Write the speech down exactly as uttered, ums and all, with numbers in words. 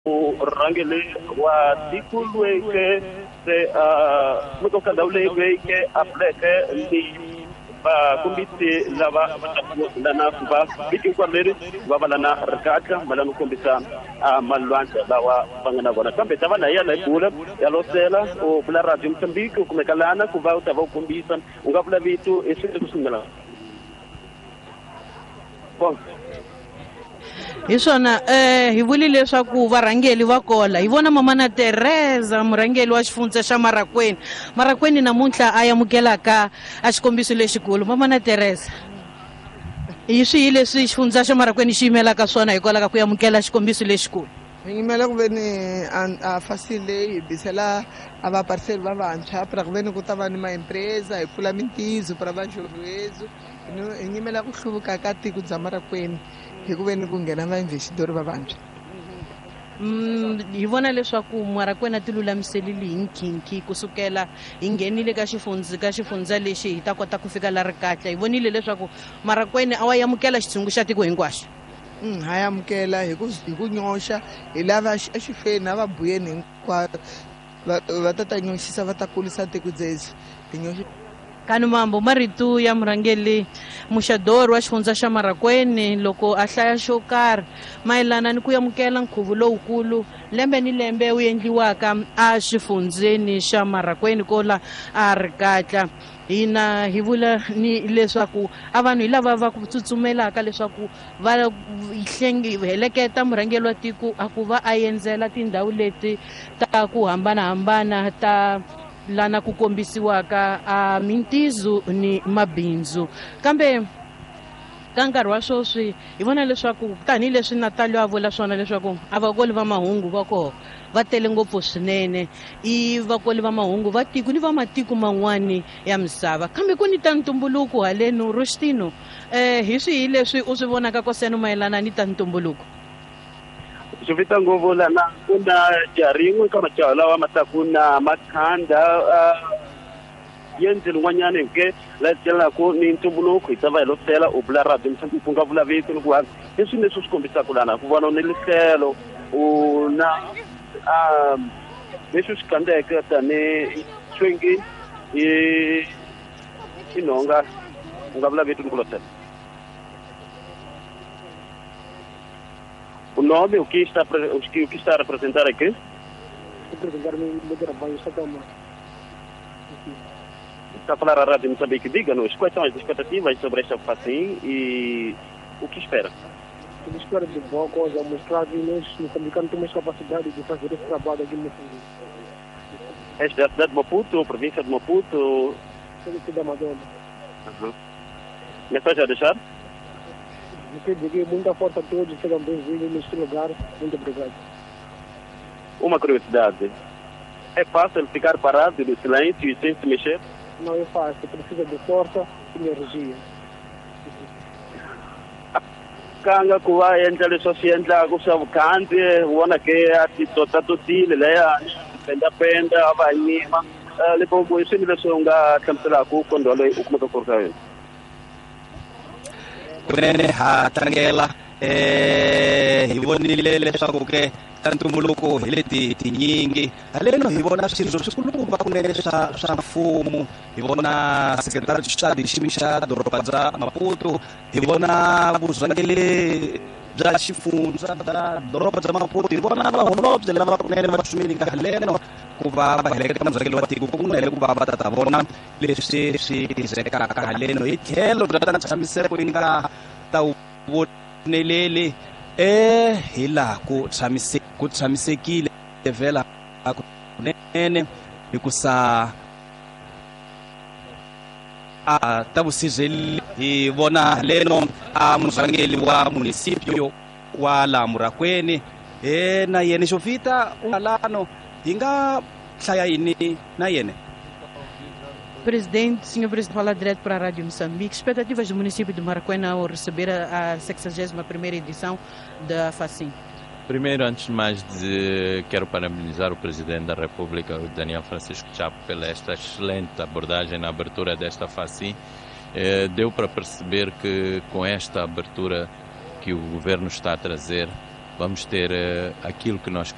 Murhangeri wa tiko loyi ke se a kumeka ka ndhawu leyi loyi ke a pfuleke ni vakombisi lava va taku lana ku va vhiki hinkwaro leri va va lana rikatla va lana ku kombisa malwandla lawa va nga na vona. Kambe ta va na ya la hi bula ya losela u vula Radio Mozambique u kumeka lana ku va u ta va u kombisa u nga vula vito i swilo leswi nga bon. Hi swona eh hi vuli leswaku varhangeli va kola hi vona Mamana Teresa murhangeli wa xifundza xa Marracuene. Marracuene namuntlha a amukelaka a xikombiso lexikulu. Mamana Teresa, hi swihi leswi xifundza xa Marracuene xi yimelaka swona hikwalaho ka ku amukela xikombiso lexikulu? Hi yimela ku ve ni a FACIM leyi hi bisela a vapariseri va vantshwa pra ku ve ni ku ta va ni maempresa hi pfula mintizo pra va jovhezo. Hi yimela ku hluvuka ka tiko bya Marracuene hi ku ve ni ku nghena vainvestitori va vantshwa. Hi vona leswaku Marracuene a ti lulamiselile hi nkhinkhi kusukela hi nghenile ka xifundza ka xifundza lexi hi ta kota ku fika la Rikatla. Hi vonile leswaku Marracuene a wa amukela xitshungu xa tiko hinkwaxo. Ha amukela hi ku hi ku nyoxa hi lava exifeni a va buyeni hinkwavo va ta ta nyoxisa va ta kulisa tiko dzedzi hi nyoxa. Kani mambo marito ya murhangeri Muxador wa xifundza xa Marracuene loko a hlaya xo karhi mayelana ni ku amukela nkhuvo lowukulu lembe ni lembe wu endliwaka a xifundzeni xa Marracuene kola a Rikatla. Hina hi vula ni leswaku a vanhu hi lava va ku tsutsumelaka leswaku va heleketa murhangeri wa tiko a ku va a endzela tindhawu leti ta ku hambanahambana ta lana ku kombisiwaka a mintizo ni mabindzu. Kambe ka nkarhi wa sweswi hi vona leswaku tanihileswi Natalio a vula swona leswaku a vakoli va mahungu va koho va tele ngopfu swinene, i vakoli va mahungu va tiko ni va matiko man'wani ya misava. Kambe ku ni ta ntumbuluko haleno Rostino, eh hi swihi leswi u swi vonaka koseno mayelana ni ta ntumbuluko? Swi vita ngopfu lana ku na jaha rin'we ka majaha lawa ma taku na makhanda yendzeni n'wanyana ke la tlelaku ni ntumbuluko hi ta va hi losela u vula Radio Mozambique ku nga vula vito ni ku ha i swilo leswi swi kombisaka lana ku vona ni lihlelo u na leswi swi kandzeke tanihi swingi i i nhonga u nga vula vito ni ku losela. O nome, o que está, o que, o que está a representar aqui? Representar o meu trabalho, está Está a falar à Rádio Moçambique. Diga-nos quais são as expectativas sobre esta FACIM e o que espera? Eu espero de boa coisa, mostrar que nós, moçambicanos, temos capacidade de fazer esse trabalho aqui em Moçambique. Esta é a cidade de Maputo, província de Maputo? Cidade da Madonna. Uhum. Mensagem a deixar? Você dizer muita força a todos, sejam bem-vindos neste lugar. Muito obrigado. Uma curiosidade. É fácil ficar parado no silêncio e sem se mexer? Não é fácil, precisa de força e energia. Kanga ku va endla leswi swi endlaka swa vukhandziyi u vona ke a ti totatotile leya pendapenda a va nyima Limpopo i swilo leswi u nga hlamuselaka kondwa loyi u kumeka ku ri ka yona? Kunene ha tlangela eh hi vonile leswaku ke ta ntumbuluko hi leti tinyingi haleno hi vona swirho swikulukumba kunene swa swa mfumo, hi vona sekretari xa xiyimo xa doroba bya Maputo, hi vona vurhangeri bya xifundza bya doroba bya Maputo, hi vona vaholobye lava kunene va tsumile ka haleno ku va va heleketa murhangeri wa tiko kunene ku va va ta vona leswi swi tirhekaka haleno hi tlhelo bya ta ntshamiseko yi nga ta voneleli eh hi laha ku tshamise ku tshamisekile vhela kunene hikusa a ta vusirheli hi vona leno a murhangeri wa municipio wa la Marracuene e na yena Jovita lano hi nga hlaya yini na yena? Presidente, senhor Presidente, fala direto para a Rádio Moçambique. Expectativas do município de Marracuene ao receber a sexagésima primeira edição da FACIM. Primeiro, antes de mais, de, quero parabenizar o Presidente da República, o Daniel Francisco Chapo, pela esta excelente abordagem na abertura desta FACIM. Eh, deu para perceber que com esta abertura que o Governo está a trazer, vamos ter eh, aquilo que nós